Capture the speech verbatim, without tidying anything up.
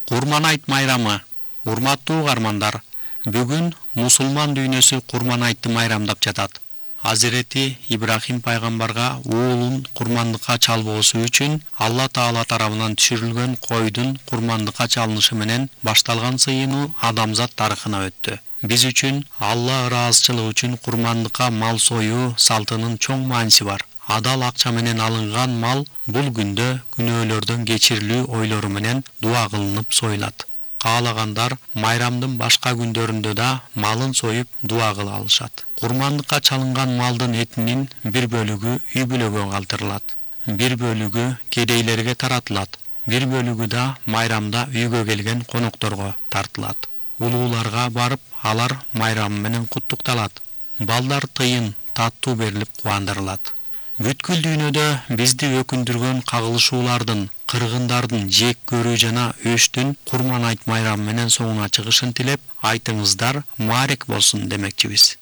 Курман айт майрамы. Урматтуу угармандар, бүгүн мусулман дүйнөсү Курман айтты майрамдап жатат. Азирети Ибрахим пайгамбарга уулун курмандыкка чалбоосу үчүн Алла Таала тарабынан түшүрүлгөн койдун курмандыкка чалынышы менен башталган сыйынуу адамзат тарыхына өттү. Биз үчүн Алла ыраазычылык үчүн курмандыкка мал союу салтынын чоң мааниси бар. Адал акча менен алынган мал бул күндө күнөөлөрдөн кечирилүү ойлору менен дуа кылынып союлат. Каалагандар майрамдын башка күндөрүндө да малын союп дуа кыла алышат. Курмандыкка чалынган малдын этинин бир бөлүгү үй бүлөгө калтырылат, бир бөлүгү кедейлерге таратылат, бир бөлүгү да майрамда үйгө келген конокторго тартылат. Улууларга барып, алар майрамы менен куттукталат. Балдар тыйын, таттуу берилип кубандырылат. Бүткүл дүйнөдө бизди өкүндүргөн кагылышуулардын, кыргындардын жек көрүү жана өштүн Курман айт майрамы менен соңуна чыгышын тилеп, айтыңыздар маарек болсун демекчибиз.